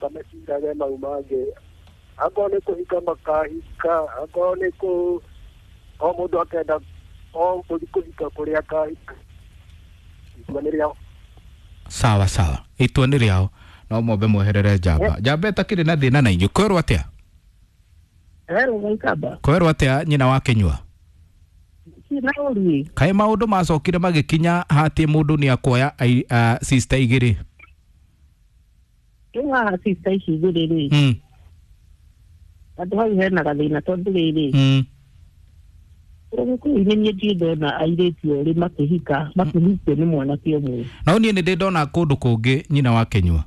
Kamecirage mau mangĩ, akorwo nĩ kũhika makahika, akorwo nĩ kũ o mũndũ akenda o gũthiĩ kũhika kũrĩa akahika, itua nĩ rĩao. Sawa sawa, itua nĩ rĩao, no mwambe mweherere njamba njamba ĩtakĩrĩ na thĩna na inyuĩ. Kwerwo atĩa? Hello, Waikamba. Kwerwo atĩa nyina wa Kĩnyua? Na ũruĩ. Kaĩ maũndũ macokire magĩkinya hatĩ mũndũ nĩ akuoya sister igĩrĩ? Rĩu haha sister ici igĩrĩ rĩ, handũ hau hena gathĩna tondũ rĩrĩ, Ũgĩkũyũ-inĩ niĩ ndirĩ ndona airĩtu erĩ makĩhika makĩhikio nĩ mwanake ũmwe. No niĩ nĩ ndĩ ndona kũndũ kũngĩ, nyina wa Kĩnyua.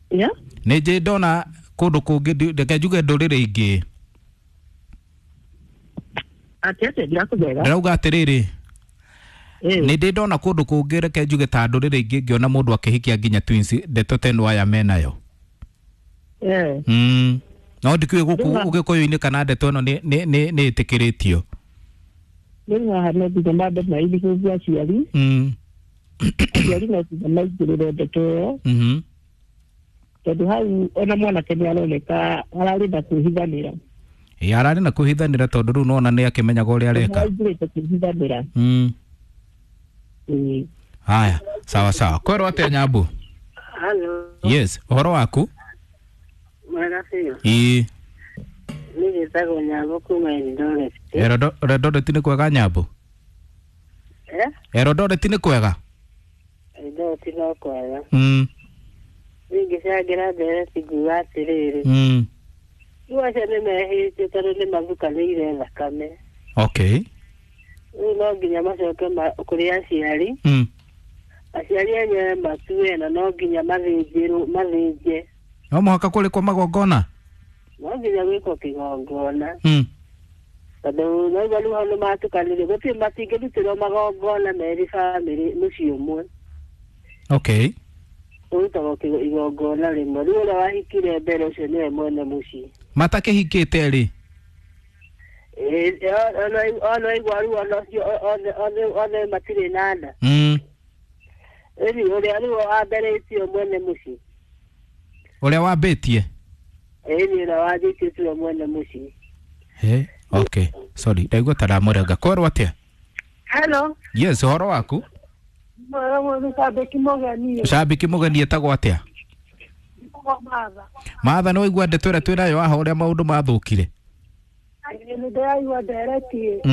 Yeah? Nĩ njĩ ndona kũndũ kũngĩ, reke njuge ndũrĩrĩ ingĩ. Atĩ atĩa ndirakũmera? Ndĩrauga atĩrĩrĩ, nĩ ndĩ ndona kũndũ kũngĩ, reke njuge ta ndũrĩrĩ ingĩ, ngĩona mũndũ akĩhikia nginya twins, ndeto ta ĩno aya menayo. No ndikĩũĩ gũkũ Ũgĩkũyũ-inĩ kana ndeto ĩno nĩ ĩtĩkĩrĩtio. Rĩu haha no nginya mambe maithikĩrie aciari. Aciari no nginya maingĩrĩre ndeto ĩyo. Tondũ hau ona mwanake nĩ aroneka ararĩ na kwĩhithanĩra. Ĩ, ararĩ na kwĩhithanĩra tondũ rĩu nona nĩ akĩmenyaga ũrĩa areka. Aingĩrĩte kwĩhithanĩra. Haya, sawa sawa. Kwerwo atĩa Nyambu? Halo. Yes, ũhoro waku? Mwega biũ. Ĩĩ. Niĩ njĩtagwo Nyambo kuma Eldoret. Eldoret nĩ kwega Nyambo? Eh? Eldoret nĩ kwega? Eldoret no kwega. Niĩ ngĩcangĩra ndereti nguga atĩrĩrĩ. Rĩu acio nĩ mehĩtie tondũ nĩ mathukanĩire thakame. Okay. Rĩu no nginya macoke kũrĩ aciari. Aciari enyewe matue na no nginya mathĩnjĩrwo, mathĩnje. No mũhaka kũrĩkwo magongona? No nginya gwĩkwo kĩgongona. Tondũ naigua rĩu hau nĩ matukanire, gũtirĩ matingĩrutĩrwo magongona merĩ bamĩrĩ mũciĩ ũmwe. Okay. Ũrutagwo igongona rĩmwe. Rĩu ũrĩa wahikire mbere ũcio nĩwe mwene mũciĩ. Matakĩhikĩte rĩ? Ona igua rĩu ona ũcio othe matirĩ na nda. Ĩni ũrĩa rĩu wamberĩtio mwene mũciĩ. Ũrĩa wambĩtie? Ĩni ũrĩa wanjĩtie tiwe mwene mũciĩ. He, okay. Sorry, ndaigua ta ndamũrenga. Kwerwo atĩa? Hello. Yes, ũhoro waku? Mwega mũno, Cambĩki Mũgeni. Cambĩki Mũgeni etagwo atĩa? Matha. Matha, nĩ waigua ndeto ĩrĩa twĩnayo haha ũrĩa maũndũ mathũkire? Nĩ ndĩraigua ndereti.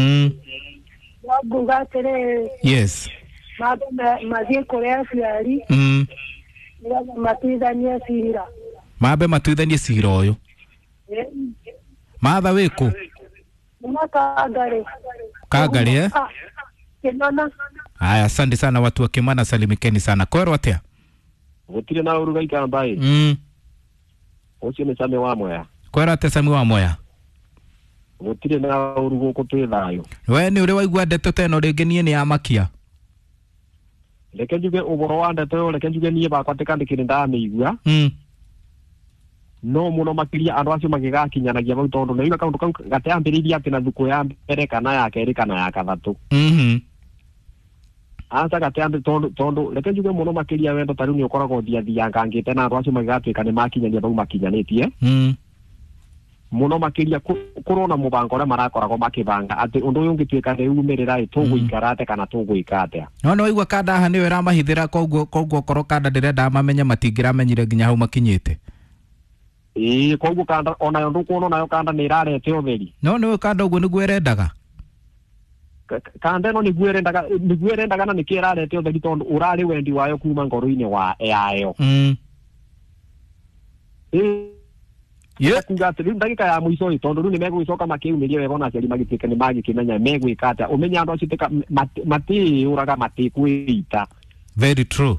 No nguga atĩrĩrĩ. Yes. Mambe mathiĩ kũrĩ aciari. Nĩgetha matuithanie cira. Mambe matuithanie cira ũyũ. Matha wĩkũ? Nĩ Kangarĩ. Kangarĩ, eh? Kĩnona. Haya, asante sana watu wa Kimana, salimikeni sana. Kwerwo atĩa? Gũtirĩ na ũru Gaikamba ĩ. Ũcio nĩ Sami wa Mwea. Kwerwo atĩa Sami wa Mwea? Gũtirĩ na ũru gũkũ twĩ thayũ. We nĩ ũrĩ waigua ndeto ta ĩno rĩngĩ? Niĩ nĩ yamakia. Reke njuge ũhoro wa ndeto ĩyo, reke njuge niĩ bakwa atĩ kandi kĩrĩ ndamĩigua. No mũno makĩria andũ acio magĩgakinyanagia bau tondũ nĩigua kaũndũ kau gateambĩrĩirie atĩ na thukũ ya mbere kana ya kerĩ kana ya kathatũ. Aca gateambĩ tondũ reke njuge mũno makĩria wendo ta rĩu nĩ ũkoragwo ũthiathiangangĩte na andũ acio magĩgatuĩka nĩ makinyania bau makinyanĩtie. Mũno makĩria kũrona mũbango ũrĩa marakoragwo makĩbanga atĩ ũndũ ũyũ ũngĩtuĩka nĩ umĩrĩra ĩ tũgũikara atĩa kana tũgwĩka atĩa. No nĩ waigua kanda haha nĩyo ĩramahithĩra, koguo okorwo kanda ndĩrendaga mamenye matingĩramenyire nginya hau makinyĩte. Ĩĩ, koguo kanda onayo ndũkuona onayo kanda nĩ ĩrarete ũtheri. No nĩũĩ kanda ũguo nĩguo ĩrendaga. Kanda ĩno nĩguo ĩrendaga, nĩguo ĩrendaga na nĩkĩo ĩrarete ũtheri tondũ ũrarĩ wendi wayo kuma ngoro-inĩ wa yayo. Ĩĩ. Kuga atĩ rĩu ndagĩka ya mũico ĩ tondũ rĩu nĩ megũgĩcoka makĩumĩrie wega ona aciari magĩtuĩke nĩ magĩkĩmenya megwĩka atĩa. Ũmenye andũ acio matĩũraga matĩkwĩita. Very true.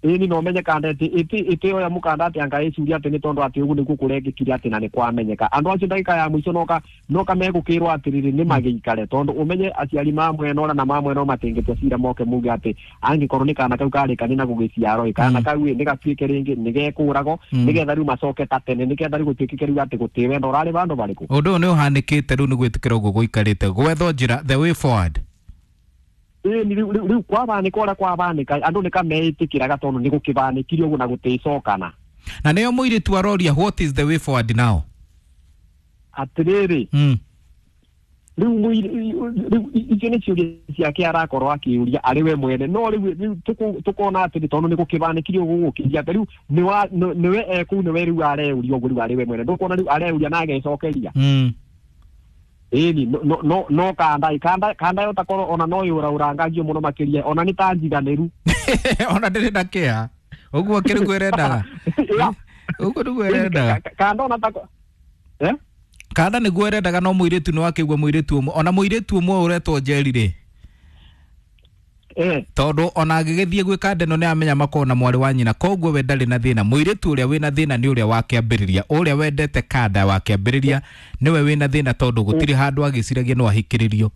Ĩni no menye kanda ĩtĩ oya mũkanda atĩ anga ĩcuria atĩ nĩ tondũ atĩ ũguo nĩguo kũrekĩkire atĩ na nĩ kwamenyeka. Andũ acio ndagĩka ya mũico noka megũkĩrwo atĩrĩrĩ nĩ magĩikare tondũ ũmenye aciari ma mwena ũrĩa na ma mwena ũyũ matingĩtua cira moke muge atĩ angĩkorwo nĩ kana kau karĩkani na gũgĩciarwo ĩ kana kau ĩ nĩ gatuĩke rĩngĩ nĩ gekũragwo nĩgetha rĩu macoke ta tene nĩgetha rĩu gũtuĩkĩke rĩu atĩ gũtĩ wendo ũrarĩ vandũ varĩkũ. Ũndũ ũyũ nĩ ũhanĩkĩte rĩu nĩ gwĩtĩkĩra ũguo gũikarĩte gwethwo njĩra the way forward. Ĩni rĩu kwabanĩka ũrĩa kwabanĩka andũ nĩ kameĩtĩkĩraga tondũ nĩ gũkĩbanĩkire ũguo na gũtĩcokana. Na nĩyo mũirĩtu aroria what is the way forward now? Atĩrĩrĩ, rĩu rĩu icio nĩ ciũria ciake arakorwo akĩũria arĩ we mwene, no rĩu tũkona atĩrĩ tondũ nĩ gũkĩbanĩkire ũguo gũkĩria atĩ rĩu nĩwe ekũu nĩwe rĩu areuria ũguo rĩu arĩ we mwene, ndũkuona rĩu areuria na agecokeria. Ĩni no kanda yo takorwo ona no yũraũrangagio mũno makĩria, ona nĩ ta njiganĩru. Ona ndĩrĩ na kĩeha ũguo kĩrĩ kwĩrendaga. Ũguo nĩguo ĩrendaga. Kanda ona tako kanda nĩguo ĩrendaga, no mũirĩtu nĩ wakĩigua mũirĩtu ũmwe, ona mũirĩtu ũmwe ũretwo Njeri rĩ, tondũ ona agĩgĩthiĩ gwĩ kanda ĩno nĩ amenya makorwo na mwarĩ wa nyina, koguo we ndarĩ na thĩna. Mũirĩtu ũrĩa wĩna thĩna nĩ ũrĩa wakĩambĩrĩria, ũrĩa wendete kanda wakĩambĩrĩria nĩwe wĩna thĩna, tondũ gũtirĩ handũ agĩciragia no ahikĩrĩrio.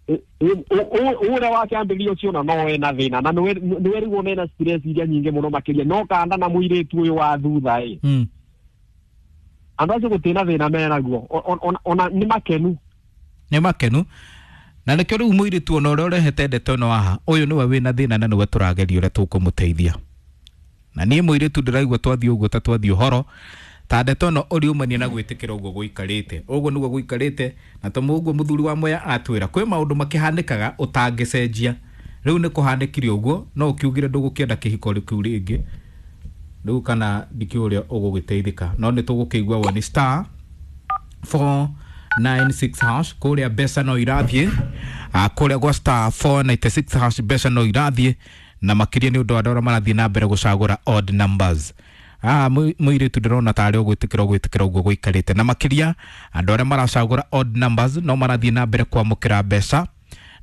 Ũrĩa wakĩambĩrĩria ũcio ona no ena thĩna, na nĩwe rĩu ona ena stress iria nyingĩ mũno makĩria, no kanda na mũirĩtu ũyũ wa thutha ĩ, andũ acio gũtirĩ na thĩna menaguo, ona nĩ makenu. Nĩ makenu. Na nĩkĩo rĩu mũirĩtu ona ũrĩa ũrehete ndeto ĩno haha, ũyũ nĩwe wĩna thĩna na nĩwe tũrageria ũrĩa tũkũmũteithia. Na niĩ mũirĩtu ndĩraigua twathiĩ ũguo ta twathiĩ ũhoro, ta ndeto ĩno ũriumania na gwĩtĩkĩra ũguo gũikarĩte, ũguo nĩguo gũikarĩte, na to ũguo mũthuri wa Mwea atwĩra kwĩ maũndũ makĩhanĩkaga ũtangĩcenjia. Rĩu nĩ kũhanĩkire ũguo, no ũkiugire ndũgũkĩenda kĩhiko kĩu rĩngĩ, rĩu kana ndikĩũĩ ũrĩa ũgũgĩteithĩka, no nĩ tũgũkĩigua woni star 496 hash kũrĩa mbeca no irathiĩ, kũrĩa gwa star 496 hash mbeca no irathiĩ, na makĩria nĩ ũndũ wa andũ arĩa marathiĩ na mbere gũcagũra odd numbers. Mũirĩtu ndĩrona tarĩ ũgwĩtĩkĩra ũguo gũikarĩte, na makĩria andũ arĩa maracagũra odd numbers no marathiĩ na mbere kwamũkĩra mbeca,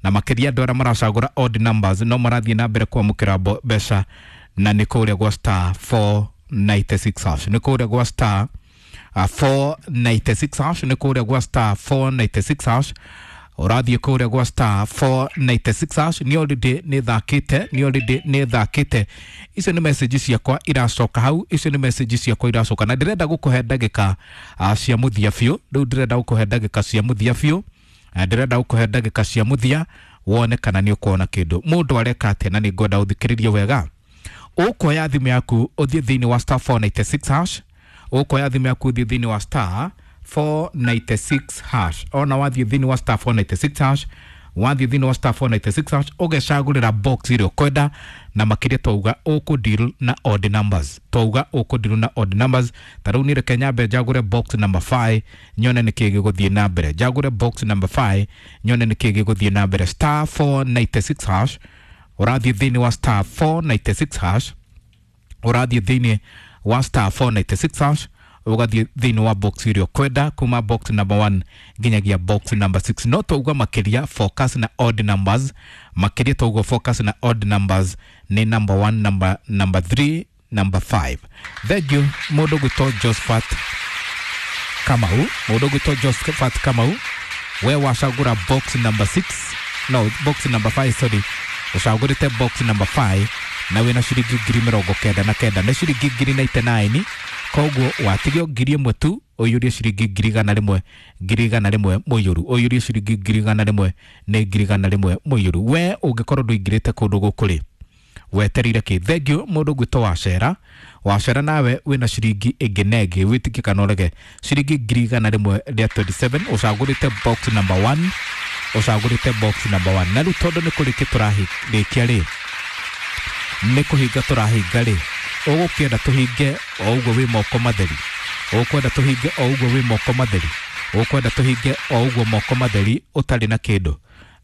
na makĩria andũ arĩa maracagũra odd numbers no marathiĩ na mbere kwamũkĩra mbeca, na nĩ kũrĩa gwa star 496 hash, nĩ kũrĩa gwa star 496 hash, nĩ kũrĩa gwa star 496 hash, ũrathiĩ kũrĩa gwa star 496 hash. Nĩ already nĩ thakĩte, nĩ already nĩ thakĩte. Icio nĩ message ciakwa iracoka hau, icio nĩ message ciakwa iracoka, na ndĩrenda gũkũhe ndagĩka cia mũthia biũ. Rĩu ndĩrenda gũkũhe ndagĩka cia mũthia biũ, ndĩrenda gũkũhe ndagĩka cia mũthia wone kana nĩ ũkuona kĩndũ mũndũ areka atĩa, na nĩ ngwenda ũthikĩrĩrie wega. Ũkuoya thimũ yaku ũthiĩ thĩinĩ wa star 496 hash, ũkuoya thimũ yaku ũthiĩ thĩinĩ wa star 496 hash, ona wathiĩ thĩinĩ wa star 496 hash, wathiĩ thĩinĩ wa star 496 hash ũgecagũrĩra box ĩrĩa ũkwenda, na makĩria twauga ũkũ deal na odd numbers, twauga ũkũ deal na odd numbers. Ta rĩu niĩ reke nyambe njagũre box number 5 nyone nĩkĩĩ gĩgũthiĩ na mbere, njagũre box number 5 nyone nĩkĩĩ gĩgũthiĩ na mbere. Star 496 hash, ũrathiĩ thĩinĩ wa star 496 hash, ũrathiĩ thĩinĩ wa star 496 hash, ũgathiĩ thĩinĩ wa box ĩrĩa ũkwenda kuma box number 1 nginyagia box number 6. No twauga makĩria focus na odd numbers, makĩria twauga focus na odd numbers nĩ number 1, number 3, number 5. Thank you mũndũ gwĩtwo Josephat Kamau, mũndũ gwĩtwo Josephat Kamau, we wacagũra box number 6, no box number 5, sorry, ũcagũrĩte box number 5 na wĩna ciringi 99,000, nĩ ciringi 99,000, koguo watigio 1,000 tu ũiyũrie ciringi 100,000, 100,000 mũiyũru, ũiyũrie ciringi 100,000 nĩ 100,000 mũiyũru. We ũngĩkorwo ndũingĩrĩte kũndũ gũkũ rĩ, wetereire kĩ? Thank you mũndũ gwĩtwo Wacera. Wacera nawe wĩna ciringi ĩngĩ na ĩngĩ, wĩtĩkie kana ũrege, ciringi 127,000, ũcagũrĩte box number 1, ũcagũrĩte box number 1. Na rĩu tondũ nĩ kũrĩkia tũrarĩkia rĩ, nĩ kũhinga tũrahinga rĩ, ũgũkĩenda tũhinge o ũguo wĩ moko matheri, ũkwenda tũhinge o ũguo wĩ moko matheri, ũkwenda tũhinge o ũguo moko matheri ũtarĩ na kĩndũ.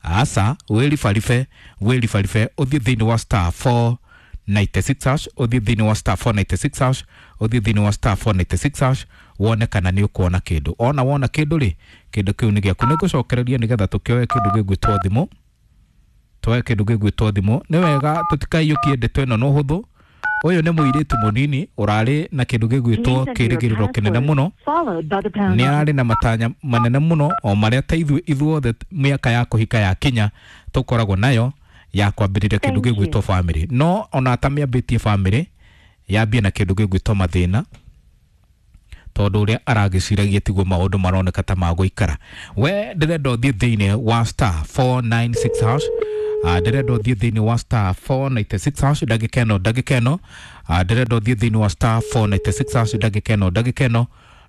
Aca, wĩribaribe, wĩribaribe ũthiĩ thĩinĩ wa star 496 hash, ũthiĩ thĩinĩ wa star 496 hash, ũthiĩ thĩinĩ wa star 496 hash, wone kana nĩ ũkuona kĩndũ. Ona wona kĩndũ rĩ, kĩndũ kĩu nĩ gĩaku. Nĩngũcokereria nĩgetha tũkĩoe kĩndũ gĩgwĩtwo thimũ, tuoe kĩndũ gĩgwĩtwo thimũ. Nĩ wega tũtikaiyũkie ndeto ĩno na ũhũthũ. Ũyũ nĩ mũirĩtu mũnini ũrarĩ na kĩndũ gĩgwĩtwo kĩrĩgĩrĩro kĩnene mũno, nĩ ararĩ na matanya manene mũno, o marĩa ta ithuĩ ithuothe mĩaka ya kũhika yakinya tũkoragwo nayo ya kwambĩrĩria kĩndũ gĩgwĩtwo family. No ona atamĩambĩtie family, yambie na kĩndũ gĩgwĩtwo mathĩna, tondu uria aragiciragia tiguo maundu maroneka ta magũikara. We ndĩrenda ũthiĩ thĩinĩ wa star 496 hash, ndĩrenda ũthiĩ thĩinĩ wa star 496 hash ndagĩka ĩno, ndagĩka ĩno, ndĩrenda ũthiĩ thĩinĩ wa star 496 hash ndagĩka ĩno, ndagĩka ĩno,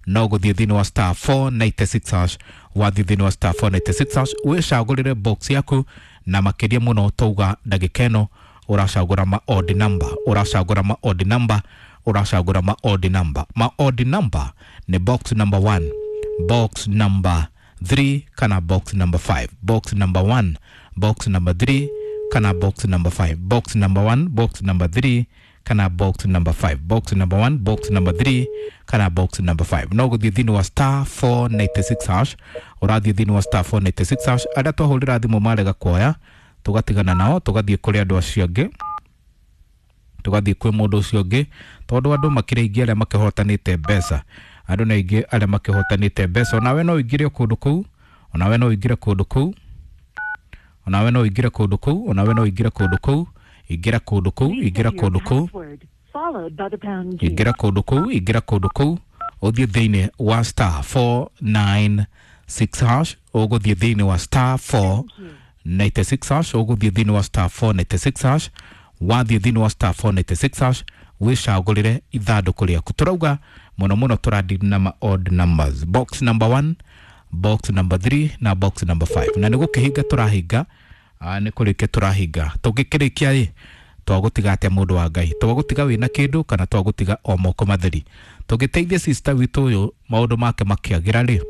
no gũthiĩ thĩinĩ wa star 496 hash. Wathiĩ thĩinĩ wa star 496 hash wĩcagũrĩre box yaku, na makĩria mũno tauga ndagĩka ĩno ũracagũra ma odd number, ũracagũra ma odd number, ũracagũra ma odd number. Ma odd number nĩ box number 1, box number 3 kana box number 5. Box number 1, box number 3 kana box number 5. Box number 1, box number 3 kana box number 5. Box number 1, box number 3 kana box number 5. No gũthiĩ thĩinĩ wa star 496 hash, ũrathiĩ thĩinĩ wa star 496 hash. Arĩa twahũrĩra thimũ marega kuoya, tũgatigana nao tũgathiĩ kũrĩ andũ acio angĩ, tũgathiĩ kwĩ mũndũ ũcio ũngĩ, tondũ andũ makĩrĩ aingĩ arĩa makĩhotanĩte mbeca, andũ nĩ aingĩ arĩa makĩhotanĩte mbeca. Onawe no ũingĩre kũndũ kũu, onawe no ũingĩre kũndũ kũu, onawe no ũingĩre kũndũ kũu, onawe no ũingĩre kũndũ kũu, ingĩra kũndũ kũu, ingĩra kũndũ kũu, ingĩra kũndũ kũu, ingĩra kũndũ kũu, ũthiĩ thĩinĩ wa star 496 hash, ũgũthiĩ thĩinĩ wa star 496 hash, ũgũthiĩ thĩinĩ wa star 496 hash. Wathiĩ thĩinĩ wa star 496 hash wĩcagũrĩre ithandũkũ rĩaku. Tũrauga mũno mũno tũradili na ma odd numbers, box number 1, box number 3 na box number 5. Na nĩ gũkĩhinga tũrahinga, nĩ kũrĩkia tũrahinga. Tũngĩkĩrĩkia ĩ twagũtiga atĩa mũndũ wa Ngai? Twagũtiga wĩna kĩndũ kana twagũtiga o moko matheri? Tũngĩteithia sister witũ ũyũ maũndũ make makĩagĩra rĩ,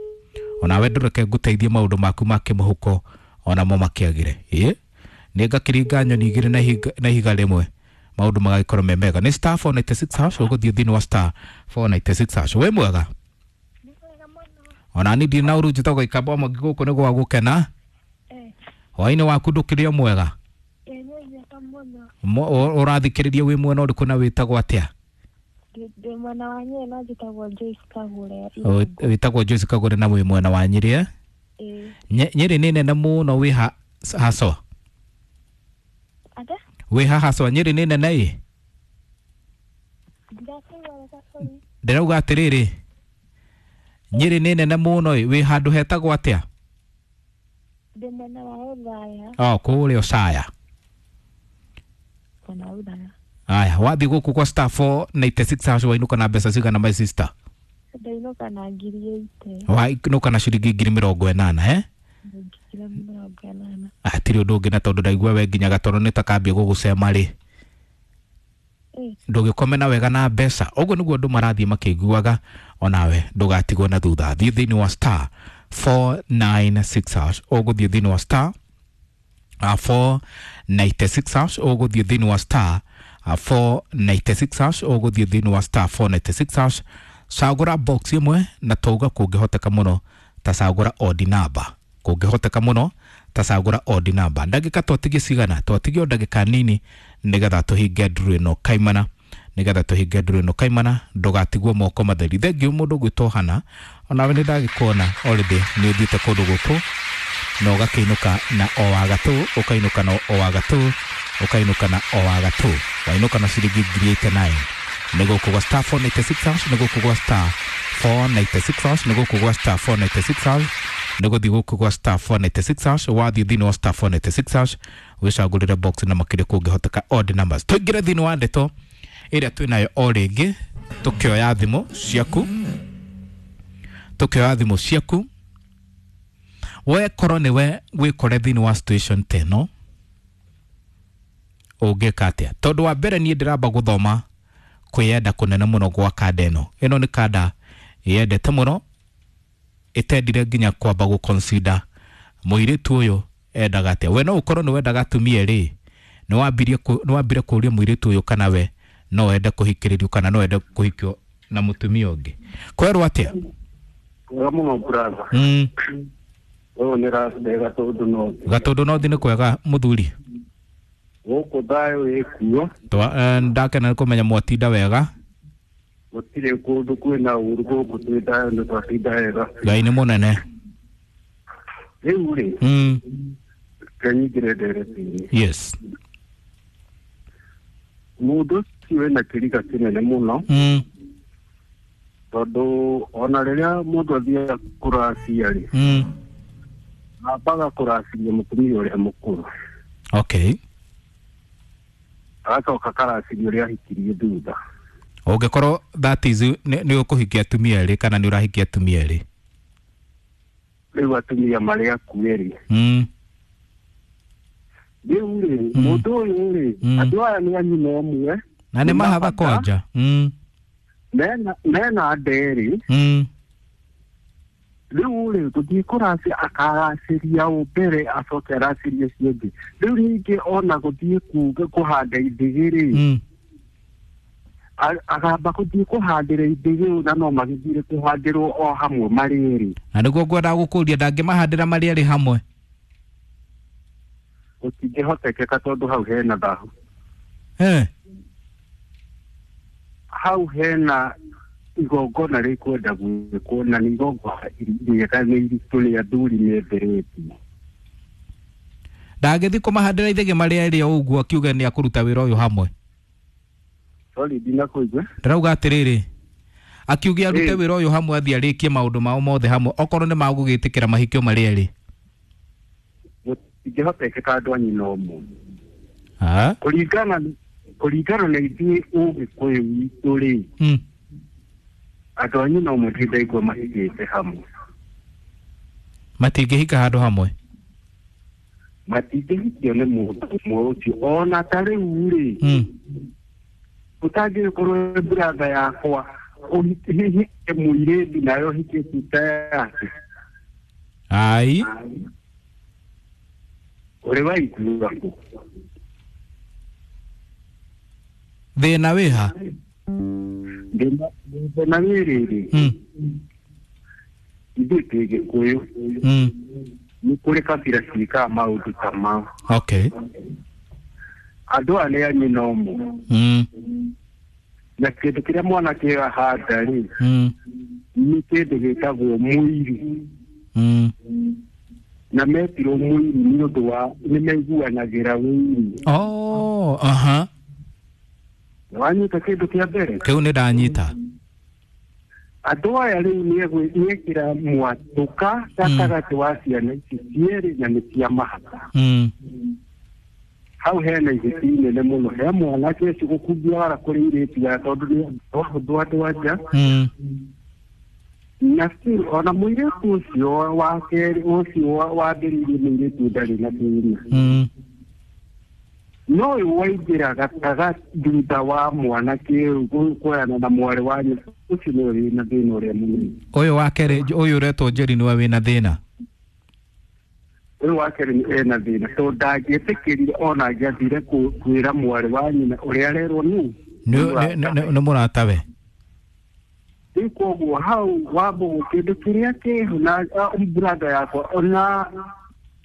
onawe ndũreke ngũteithie maũndũ maku ma kĩmũhuko onamo makĩagĩre. Ĩ nĩ ngakĩringa nyoni igĩrĩ na ihiga rĩmwe, maũndũ magagĩkorwo me mega. Nĩ star 496 hash, ũgũthiĩ thĩinĩ wa star 496 hash. Wĩ mwega? Ona ni ndirĩ na ũru, njĩtagwo Ikamba wa Mwangi, gũkũ nĩ gwa gũkena. Hwaĩ-inĩ waku ndũkĩrĩ o mwega? Ũrathikĩrĩria wĩ mwena ũrĩkũ na wĩtagwo atĩa? Ndĩ mwena wa Nyĩrĩ na njĩtagwo Joyce Kagũre. Wĩtagwo Joyce Kagũre na wĩ mwena wa Nyĩrĩ, eh? Nyĩrĩ nĩ nene mũno, wĩ ha haswa? Wĩ ha haswa? Nyĩrĩ nĩ nene ĩ? Ndĩrauga atĩrĩrĩ, Nyĩrĩ nĩ nene mũno ĩ, wĩ handũ hetagwo atĩa? Ndĩ mwena wa Othaya. Oh, kũrĩa Othaya. Aya, wathiĩ gũkũ kwa star 496 hash wainũka na mbeca cigana my sister? Ndainũka na 80,000. Wainũka na ciringi 80,000, eh? 80,000. Hatirĩ ũndũ ũngĩ, na tondũ ndaigua we nginya gatoro nĩ takambia gũgũcema rĩ, ndũgĩkome na wega na mbeca. Ũguo nĩguo andũ marathiĩ makĩiguaga, onawe ndũgatigwo na thutha. Thiĩ thĩinĩ wa star 496 hash, ũgũthiĩ thĩinĩ wa star 496 hash, ũgũthiĩ thĩinĩ wa star 496 hash, ũgũthiĩ thĩinĩ wa star 496 hash. Cagũra box ĩmwe, na tauga kũngĩhoteka mũno ta cagũra odd number, kũngĩhoteka mũno ta cagũra odd number. Ndagĩka twatigie cigana? Twatigie o ndagĩka nini nĩgetha tũhinge nduru ĩno kaimana, nĩgetha tũhinge nduru ĩno kaimana, ndũgatigwo moko matheri. Thengiũ mũndũ ũgwĩtwo Hana, onawe nĩ ndagĩkuona already nĩ ũthiĩte kũndũ gũkũ na ũgakĩinũka na o wa gatũ, ũkainũka na o wa gatũ, ũkainũka na o wa gatũ, wainũka na ciringi 89,000. Nĩ gũkũ gwa star 496 hash, nĩ gũkũ gwa star 496 hash, nĩ gũkũ gwa star 496 hash, nĩ gũthiĩ gũkũ gwa star 496 hash. Wathiĩ thĩinĩ wa star 496 hash wĩcagũrĩre box na makĩria kũngĩhoteka odd numbers. Tũingĩre thĩinĩ wa ndeto ĩrĩa twĩnayo o rĩngĩ, tũkĩoya thimũ ciaku, tũkĩoya thimũ ciaku. We korwo nĩwe wĩkore thĩinĩ wa situation ta ĩno, ũngĩka atĩa? Tondũ wa mbere niĩ ndĩramba gũthoma kwĩyenda kũnene mũno gwa kanda ĩno. Ĩno nĩ kanda yendete mũno, ĩtendire nginya kwamba gũ consider mũirĩtu ũyũ endaga atĩa. We no ũkorwo nĩ wendaga atumia rĩ, nĩ wambire kũũria mũirĩtu ũyũ kana we no wende kũhikĩrĩrio kana no wende kũhikio na mũtumia ũngĩ. Kwerwo atĩa? Wega mũno brother. Ũyũ nĩ Rasde Gatũndũ North. Gatũndũ North nĩ kwega mũthuri? Gũkũ thayũ ĩkuo. Ndakena nĩ kũmenya mwatinda wega. Gũtirĩ kũndũ kwĩna ũru gũkũ, twĩ thayũ, nĩ twatinda wega. Ngai nĩ mũnene. Rĩu rĩ, kenyingĩre ndereti-inĩ. Yes. Mũndũ ũcio wĩna kĩriga kĩnene mũno. Tondũ ona rĩrĩa mũndũ athiaga kũracia rĩ, ambaga kũraciria mũtumia ũrĩa mũkũrũ. Okay. Agacoka akaraciria ũrĩa ahikirie thutha. Ũngĩkorwo that is nĩ ũkũhikia atumia erĩ kana nĩ ũrahikia atumia erĩ. Rĩu atumia marĩ aku erĩ. Rĩu rĩ, mũndũ ũyũ rĩ, andũ aya nĩ a nyina ũmwe. Na nĩ mahatha kwanja. Mena nderĩ. Rĩu rĩ, gũthiĩ kũracia akaracĩria ũ mbere acoke aracĩrie ũcio ũngĩ. Rĩu ningĩ ona gũthiĩ kuga kũhanda ithĩgĩ rĩ, agamba gũthiĩ kũhandĩra ithĩgĩ na no magĩthire kũhandĩrwo o hamwe marĩ erĩ. Na nĩguo ngwendaga gũkũria, ndangĩmahandĩra marĩ erĩ hamwe? Gũtingĩhotekeka tondũ hau hena thahu. Hau hena igongona rĩkwenda gwĩkwo na nĩ igongona rĩega nĩ iritũ rĩa athuri menderetie. Ndangĩthiĩ kũmahandĩra ithĩgĩ marĩ erĩ o ũguo akiuge nĩ akũruta wĩra ũyũ hamwe? Sorry, ndinakũigua. Ndĩrauga atĩrĩrĩ, akiuge arute wĩra ũyũ hamwe athiĩ arĩkie maũndũ mao mothe hamwe, okorwo nĩ magũgĩtĩkĩra mahikio marĩ erĩ. Gũtingĩhotekeka andũ a nyina ũmwe. Kũringana na ithuĩ Ũgĩkũyũ witũ rĩ, andũ a nyina ũmwe ndindaigua mahikĩte hamwe. Matingĩhika handũ hamwe? Matingĩhikio nĩ mũndũ ũmwe ũcio. Ona ta rĩu rĩ, ũtangĩkorwo brother yakwa ũhike mũirĩtu nawe ũhike sister yake. Ai. Ũrĩ waigua kũ? Thĩna wĩha? Thĩna wĩ rĩrĩ, ithuĩ twĩ Gĩkũyũ, nĩ kũrĩ kabira ciĩkaga maũndũ ta mau. Okay. Andũ aya nĩ a nyina ũmwe. Na kĩndũ kĩrĩa mwanake ahanda rĩ, nĩ kĩndũ gĩtagwo mũiru. Na metirwo mũiru nĩ ũndũ wa nĩ maiguanagĩra ũiru. Oh, aha. Wanyita kĩndũ kĩa mbere? Kĩu nĩ ndanyita. Andũ aya rĩu nĩekĩra mwatũka gatagatĩ wa ciana ici cierĩ na nĩ cia mahaka. Hau hena ihĩti inene mũno, he mwanake ũcio gũkungia wara kũrĩ airĩtu aya tondũ nĩ ahũthũ andũ a nja. Na still ona mũirĩtu ũcio wa kerĩ ũcio wambĩrĩirie mũirĩtu ndarĩ na thĩna. No ũyũ waingĩra gatagatĩ thutha wa mwanake ũyũ kuoyana na mwarĩ wa nyina, ũcio nĩwe wĩna thĩna ũrĩa mũnene. Ũyũ wa kerĩ, ũyũ ũretwo Njeri nĩwe wĩna thĩna? Ũyũ wa kerĩ ena thĩna tondũ ndangĩetĩkĩrire ona angĩathire kwĩra mwarĩ wa nyina ũrĩa arerwo nũ. Nĩ mũratawe. Rĩu koguo hau wambũgũ kĩndũ kĩrĩa kĩho na brother yakwa ona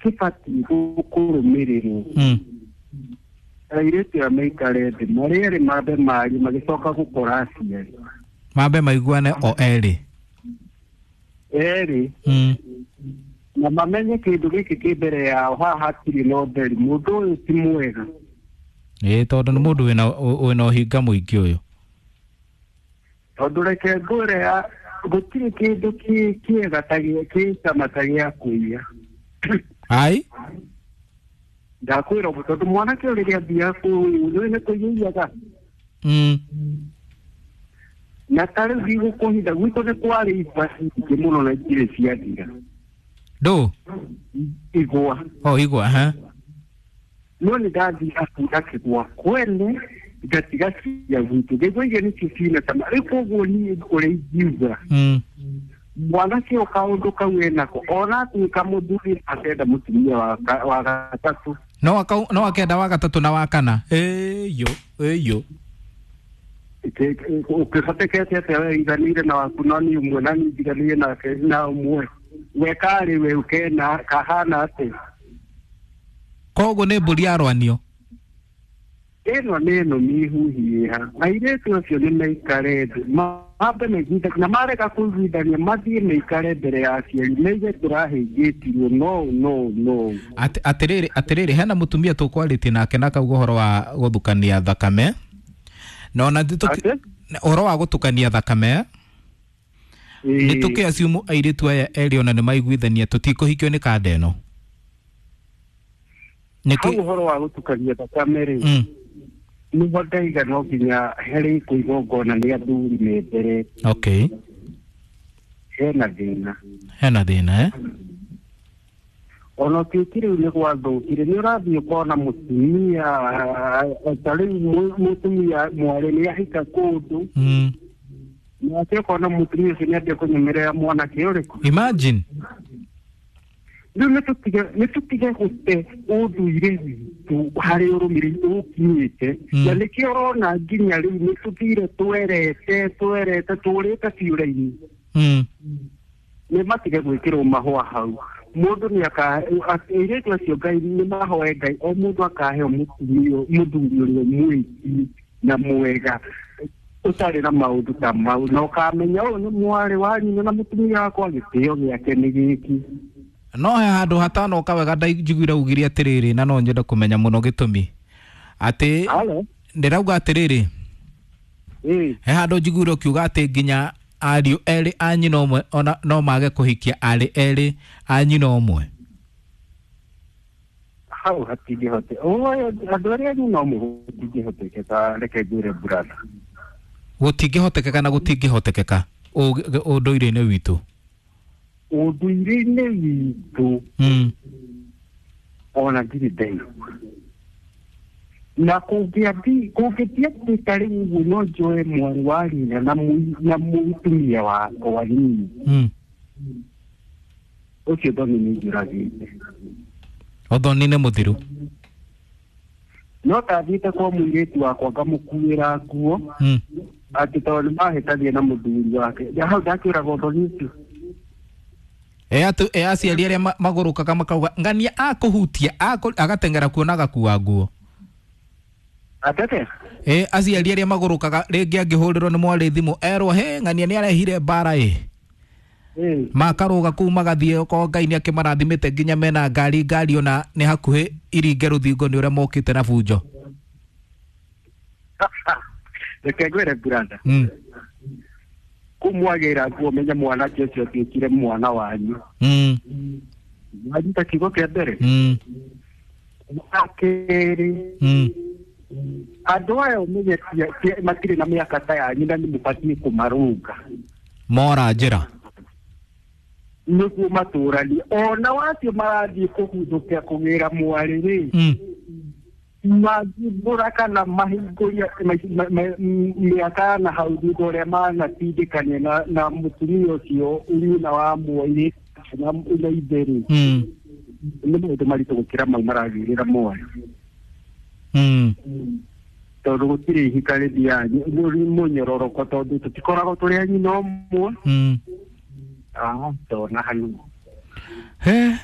kĩbatiĩ kũrũmĩrĩrwo. Airĩtu aya maikare thĩ marĩ erĩ mambe marie magĩcoka gũkora aciari. Mambe maiguane o erĩ. Erĩ. Na mamenye kĩndũ gĩkĩ kĩ mbere yao haha hatirĩ na ũtheri, mũndũ ũyũ ti mwega. Ĩĩ, tondũ nĩ mũndũ wĩna ũhinga mũingĩ ũyũ. Tondũ reke ngwĩre gũtirĩ kĩndũ kĩega ta kĩ cama ta gĩa kũiya. Ai? Ndakwĩra ũguo tondũ mwanake ũyũ rĩrĩa athiaga kũu nĩ kũiyaiyaga. Na ta rĩu ndigũkũhitha gwitũ nĩ kwarĩ igwa nyingĩ mũno na itirĩ ciathira. Ndũ? Igwa. Oh, igwa, ha? No nĩ ndathiaga kuura kĩgwa kwene ngatiga cia gwitũ ngĩigua iria nĩcio ciĩna cama. Rĩu koguo niĩ ũrĩa ingiuga, mwanake ũyũ kaũndũ kau enako ona atuĩka mũthuri akenda mũtumia wa gatatũ. No akenda wa gatatũ na wa kana. Ĩyo, ĩyo. Ũkĩhotekete atĩa we iganĩire na waku na niĩ ũmwe na niĩ njiganĩire nake na ũmwe. We karĩ we ũkena kahana atĩa? Koguo nĩ mbũri yarwanio. Ĩno nĩ ĩno mĩhuhiĩha. Airĩtu acio nĩ maikare thĩ, mambe maiguithanie, na marega kũiguithania mathiĩ maikare mbere ya aciari maige tũrahĩngĩtirwo no no no. Atĩrĩrĩ, hena mũtumia tũkwarĩtie nake na akauga ũhoro wa gũthukania thakame. Na ona ũhoro wa gũtukania thakame. Nĩ tũkĩ assume airĩtu aya erĩ ona nĩ maiguithania tũtikũhikio nĩ kanda ĩno. Hau ũhoro wa gũtukania thakame rĩ, nĩho ndaiga no nginya harĩ kũigongona nĩ athuri me mbere. Okay. Hena thĩna. Hena thĩna eh? Ona ũtuĩki rĩu nĩ gwathũkire, nĩ ũrathiĩ ũkona mũtumia ta rĩu mũtumia mwarĩ nĩ ahika kũndũ, nake ũkona mũtumia ũcio nĩ ambia kũnyemerera mwanake ũrĩkũ. Imagine. Rĩu nĩ tũtige gũte ũndũire witũ harĩ ũrũmĩrĩri ũkinyĩte, na nĩkĩo ũrona nginya rĩu nĩ tũthire twerete tũrĩte ciũra-inĩ. Nĩ matige gwĩkĩrwo mahũa hau. Mũndũ nĩ airĩtu acio Ngai nĩ mahoe Ngai o mũndũ akaheo mũtumia mũthuri ũrĩa mwĩki na mwega ũtarĩ na maũndũ ta mau, na ũkamenya ũyũ nĩ mwarĩ wa nyina na mũtumia wakwa, gĩtĩo gĩake nĩ gĩkĩ. No he handũ hatanoka wega ndaiguire ugire atĩrĩrĩ, na no nyende kũmenya mũno gĩtũmi atĩ ndĩrauga atĩrĩrĩ, he handũ njiguire ũkiuga atĩ nginya ariũ erĩ a nyina ũmwe ona no mage kũhikia arĩ erĩ a nyina ũmwe. Hau hatingĩhote andũ arĩa a nyina ũmwe gũtingĩhotekeka, reke ngwĩre brother. Gũtingĩhotekeka na gũtingĩhotekeka ũndũire-inĩ witũ. Ũndũire-inĩ witũ ona ndirĩ ndaigua na kũngĩathiĩ atĩ ta rĩu ũguo no njoe mwarĩ wa nyina na mũtumia wakwa niĩ, ũcio thoni nĩ njũragĩte. Ũthoni nĩ mũthiru. No ndathiĩte kwa mũirĩtu wakwa ngamũkuĩra nguo atĩ tondũ nĩ mahĩtania na mũthuri wake, hau ndakĩũraga ũthoni ũcio. E aciari arĩa magũrũkaga makauga ng'ania akũhutia agateng'era kuo na agakua nguo. Atete? Aciari arĩa magũrũkaga rĩngĩ angĩhũrĩrwo nĩ mwarĩ thimũ erwo he ng'ania nĩ arehire mbara ĩ, makarũga kũu magathiĩ okorwo Ngai nĩ akĩmarathimĩte nginya mena ngari ona nĩ hakuhĩ iringe rũthingo nĩ ũrĩa mokĩte na bunjo. Reke ngwĩre brother, kũu mwagĩra nguo menya mwanake ũcio atuĩkire mwana wanyu. Wanyita kiugo kĩa mbere. Wa kerĩ, andũ aya ũmenye matirĩ na mĩaka ta yanyu na nĩ mũbatiĩ kũmarũnga. Mora njĩra. Nĩguo matũranie ona wacio marathiĩ kũguthũkia kũgĩra mwarĩ rĩ, mangĩmbũra kana mahingũria mĩaka na hau thutha ũrĩa manatindĩkania na mũtumia ũcio nyina wa mwarĩ na ithe rĩ, nĩ maũndũ maritũ gũkĩra mau maragĩrĩra mwarĩ. Tondũ gũtirĩ ihika rĩthiaga mũnyororoko tondũ tũtikoragwo tũrĩ a nyina ũmwe. Ndona hanini. He.